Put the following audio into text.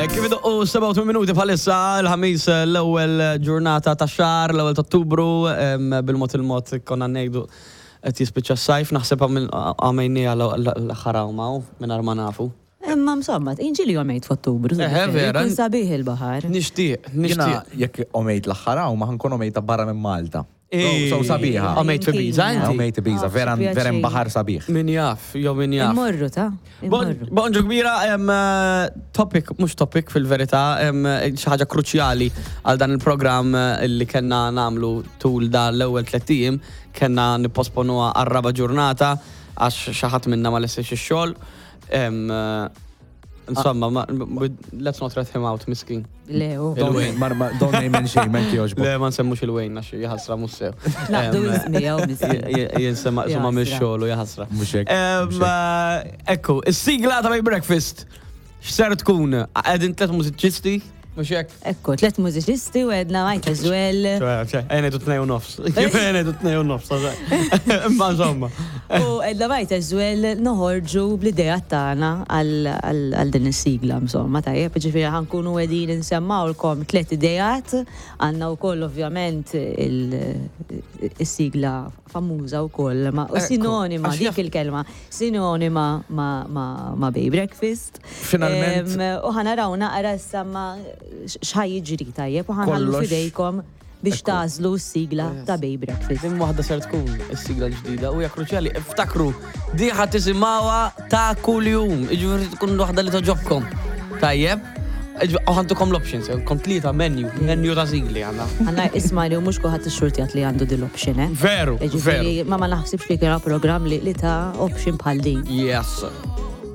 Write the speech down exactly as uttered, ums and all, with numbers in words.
Eh, Kif idoqqu sebgħa u tmien minuti bħalissa, il-Ħamis, eh, l-ewwel ġurnata ta' xahar, l-ewwel ta' Ottubru, em, bil-mod il-mod konna ngħidu qed jispiċċa s-sajf, naħseb għamejni l-aħħar għawma mingħajr ma nafu. Imma insomma, inġili għomejt f'Ottubru. Eħe, vera. Kun sabiħ il-baħar. Nixtieq, Jiena nixtieq. Jekk għomt l-aħħar għawma, ħa nkun għomtha barra minn Malta. Ej, So sabiħa. Għomt fi Ibiza, inti? Għomt Ibiza, Ah, vera pjaċir. vera baħar sabiħ. Min jaf, jew min jaf. Immorru ta' immorru. Bonġu kbira, em, eh, topic, mhux topic fil-verità, em, xi ħaġa kruċjali għal dan il-programm eh, li kellna nagħmlu tul dan l-ewwel tliet ijiem, kellna nipposponuha għar-raba ġurnata għax xi ħadd minna ma lestiex ix-xogħol. Em, eh, Insomma, ma- let's not rat him out, miskin. Leo. Il-Wayne. Don't ma- don't name and shame, anki jogħġbok. Le, ma nsemmux il-Wayne, għax jaħasra mhux sew. Naqdu Em, ismi, miskin. Jinsema insomma Jaħasra. mix-xogħol u jaħasra. Mhux hekk, Em, mhux hekk. eh, Ekku, is-sigla ta' Bay Breakfast. X'ser tkun? Qegħdin tliet mużiċisti, mhux hekk? Ekku, tlet mużiċisti u għedna might as well. Ejja ngħidu tnejn u nofs. Ejja ngħidu tnejn u nofs. Imma insomma. U għedna might as well noħorġu bl-idea tagħna għal għal din is-sigla, insomma, tajjeb, ġifieri ħa nkunu qegħdin insemmawlkom tliet idejat, għandna wkoll ovvjament il- is-sigla famuża wkoll, ma u Ekku, sinonima, għax dik jaf- il-kelma, sinonima ma, ma, ma Bay Breakfast. Finalment- Em, U ħa naraw naqra issa ma x'ħa jiġri, tajjeb, u ħa nħallu Kollox. fidejkom biex Ekku. tagħżlu s-sigla ta' Bay Breakfast. Din waħda ser tkun is-sigla l-ġdida u hija kruċjali. Iftakru, di ħa tisimgħuha ta' kuljum. Jiġifieri tkun waħda li togħġobkom. Tajjeb? Iġ- U ħa ntukom l-options, kom tlieta menu, menu ta' sigli għandna. Għanna isma li u mhux kulħadd ixxurtjat li għandu dil-option, eh? Veru, Ġifieri, veru. ma ma naħsibx li kien programm li, li ta' option bħal din. Yes.